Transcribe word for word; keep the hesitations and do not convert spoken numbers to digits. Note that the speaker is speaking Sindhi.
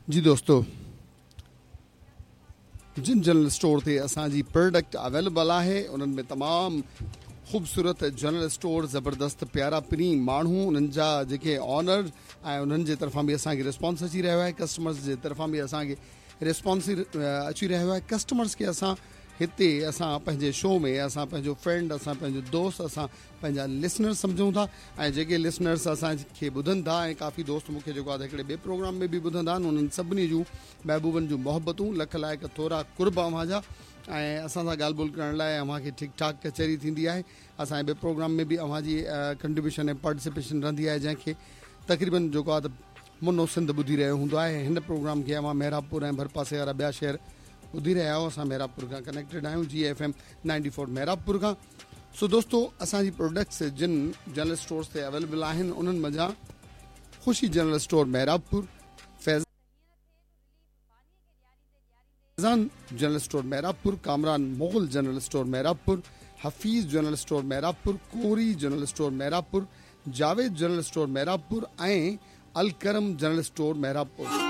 جي دوستو، جن جنرل اسٽور تي اسان جي پروڊڪٽ اويليبل آهي، انهن ۾ تمام خوبصورت جنرل اسٽور، زبردست پيارا پرين ماڻهو، انهن جا جيڪي آنر ۽ انهن جي طرفان به اسان کي ريسپانس اچي رهيو آهي، ڪسٽمرز جي طرفان به اسان کي ريسپانس اچي رهيو آهي. ڪسٽمرز کي اسان هتي اسان پنهنجي شو ۾ اسان پنهنجو فرينڊ، اسان پنهنجو دوست، اسان پنهنجا لسنر سمجهون ٿا ۽ جيڪي لسنرز اسان کي ٻڌن ٿا ۽ ڪافي دوست مون کي جيڪو آهي هڪڙي ٻئي پروگرام ۾ به ٻڌندا آهن، انهن سڀني جون محبوبن جون محبتون، لک لائق ٿورا قرب اوهان جا. ۽ اسان سان ڳالهه ٻولهه ڪرڻ لاء اوهان کي ٺيڪ ٺاڪ ڪچهري ٿيندي آهي. اسان جي ٻئي پروگرام ۾ به اوهان جي ڪنٽريبيوشن ۽ پارٽيسپيشن رهندي آهي، جنهن کي تقريبن جيڪو آهي ته منو سنڌ ٻڌي رهيو هوندو آهي. هن پروگرام کي اوهان محرابپور ۽ ڀرپاسي وارا ٻيا شهر ٻڌي رهيا آهيو. اسان محرابپور کان ڪنيڪٽيڊ آهيون، جي F M ninety four Mehrabpur کان. سو دوستو، اسان جي پروڊڪٽس جن جنرل اسٽورز تي اويليبل آهن، انهن منجهان Khushi general store Mehrabpur, Faizan general store Mehrabpur, Kamran Mughal general store Mehrabpur, Hafeez general store Mehrabpur, Kori general store Mehrabpur, Javed general store Mehrabpur ۽ Al Karam general store Mehrabpur.